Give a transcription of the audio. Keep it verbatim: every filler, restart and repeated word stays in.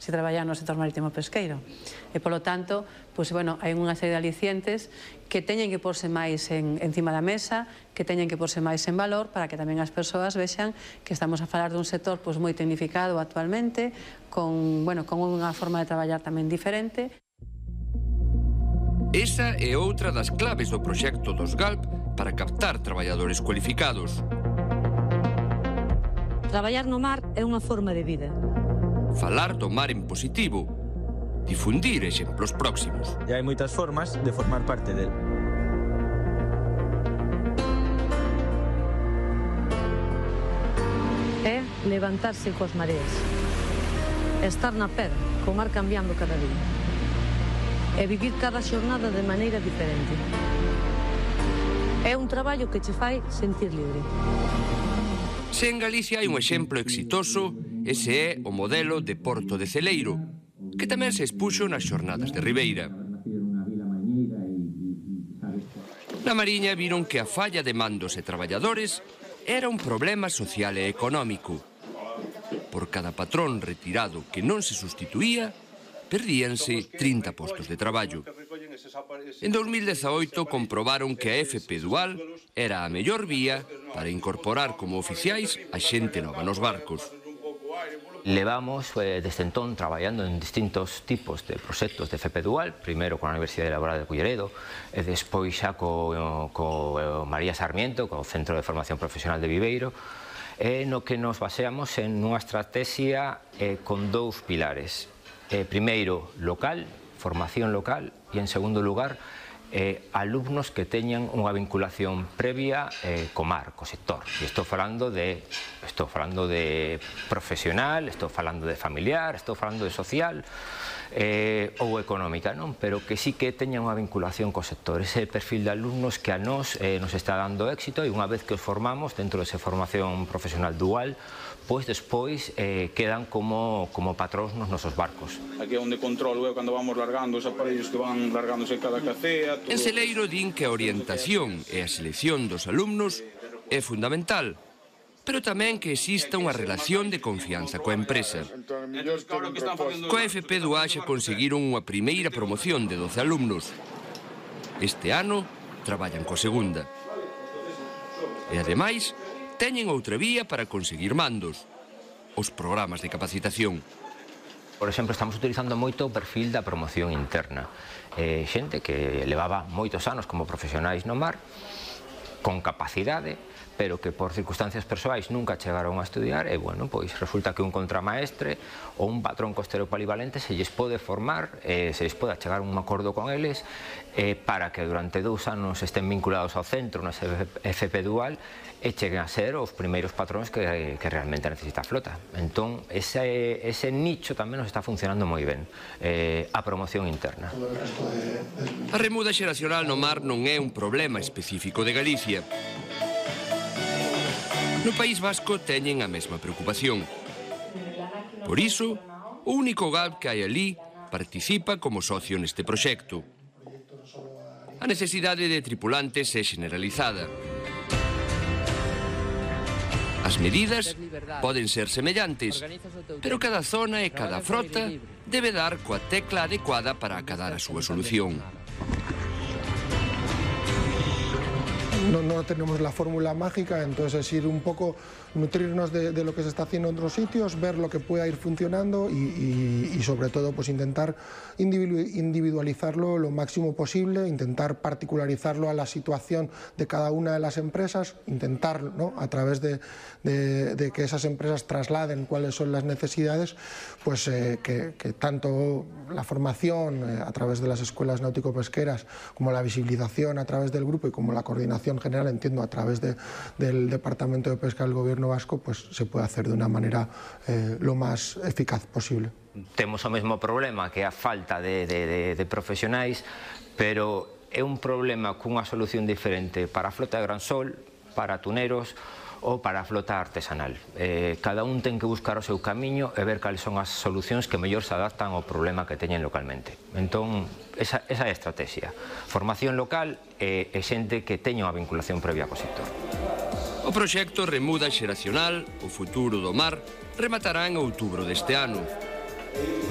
se traballar no sector marítimo pesqueiro. E, polo tanto, pois, bueno, hai unha serie de alicientes que teñen que porse máis en, encima da mesa, que teñen que porse máis en valor para que tamén as persoas vexan que estamos a falar dun sector pois, moi tecnificado actualmente, con, bueno, con unha forma de traballar tamén diferente. Esa é outra das claves do proxecto dos Galp para captar traballadores cualificados. Traballar no mar é unha forma de vida. Falar do mar en positivo, difundir exemplos próximos. E hai moitas formas de formar parte del. É levantarse coas mareas. Estar na pedra, co mar cambiando cada día. E vivir cada xornada de maneira diferente. É un traballo que che fai sentir libre. Se en Galicia hai un exemplo exitoso, ese é o modelo de Porto de Celeiro, que tamén se expuxo nas xornadas de Ribeira. Na Mariña viron que a falla de mandos e traballadores era un problema social e económico. Por cada patrón retirado que non se sustituía, perdíanse trinta postos de traballo. En dos mil dezaoito comprobaron que a F P Dual era a mellor vía para incorporar como oficiais a xente nova nos barcos. Levamos eh, desde entón traballando en distintos tipos de proxectos de F P Dual, primeiro con a Universidade Laboral de Culleredo e despois xa co, co María Sarmiento, co Centro de Formación Profesional de Viveiro, e no que nos baseamos en unha estrategia eh, con dous pilares. Eh, primeiro, local, formación local, e en segundo lugar, eh, alumnos que teñan unha vinculación previa eh, co mar, co sector. E estou falando de, estou falando de profesional, estou falando de familiar, estou falando de social eh, ou económica, non? Pero que sí que teñan unha vinculación co sector. Ese perfil de alumnos que a nós eh, nos está dando éxito, e unha vez que os formamos dentro desa formación profesional dual, pois despois eh, quedan como, como patróns nos nosos barcos. Aquí é onde controlo eu cando vamos largando os aparellos que van largándose cada cacea. En Celeiro din que a orientación e a selección dos alumnos é fundamental, pero tamén que exista unha relación de confianza coa empresa. Coa F P Dual xa conseguiron unha primeira promoción de doce alumnos. Este ano traballan coa segunda. E ademais, teñen outra vía para conseguir mandos, os programas de capacitación. Por exemplo, estamos utilizando moito o perfil da promoción interna. Eh, xente que levaba moitos anos como profesionais no mar, con capacidade, pero que por circunstancias persoais nunca chegaron a estudiar, e, bueno, pois resulta que un contramaestre ou un patrón costero polivalente se lles pode formar, eh, se lles pode chegar un acordo con eles eh, para que durante dous anos estén vinculados ao centro na F P Dual e cheguen a ser os primeiros patróns que, que realmente necesita a flota. Entón, ese, ese nicho tamén nos está funcionando moi ben, eh, a promoción interna. A remuda xeracional no mar non é un problema específico de Galicia. No País Vasco teñen a mesma preocupación. Por iso, o único Galp que hai ali participa como socio neste proxecto. A necesidade de tripulantes é generalizada. As medidas poden ser semellantes, pero cada zona e cada frota debe dar coa tecla adecuada para acadar a súa solución. No, no tenemos la fórmula mágica, entonces es ir un poco, nutrirnos de, de lo que se está haciendo en otros sitios, ver lo que pueda ir funcionando y, y, y sobre todo pues intentar individualizarlo lo máximo posible, intentar particularizarlo a la situación de cada una de las empresas, intentar, ¿no?, a través de, de, de que esas empresas trasladen cuáles son las necesidades, pues eh, que, que tanto la formación eh, a través de las escuelas náutico-pesqueras como la visibilización a través del grupo y como la coordinación general, entiendo, a través de, del Departamento de Pesca del Gobierno Vasco, pues se puede hacer de una manera eh, lo más eficaz posible. Temos o mesmo problema, que é a falta de, de, de, de profesionais, pero é un problema cunha solución diferente para a flota de gran sol, para tuneros ou para a flota artesanal. Eh, cada un ten que buscar o seu camiño e ver cales son as solucións que mellor se adaptan ao problema que teñen localmente. Entón, esa, esa é a estrategia. Formación local e, e xente que teña unha vinculación previa co sector. O proxecto Remuda Xeracional, o futuro do mar, rematará en outubro deste ano.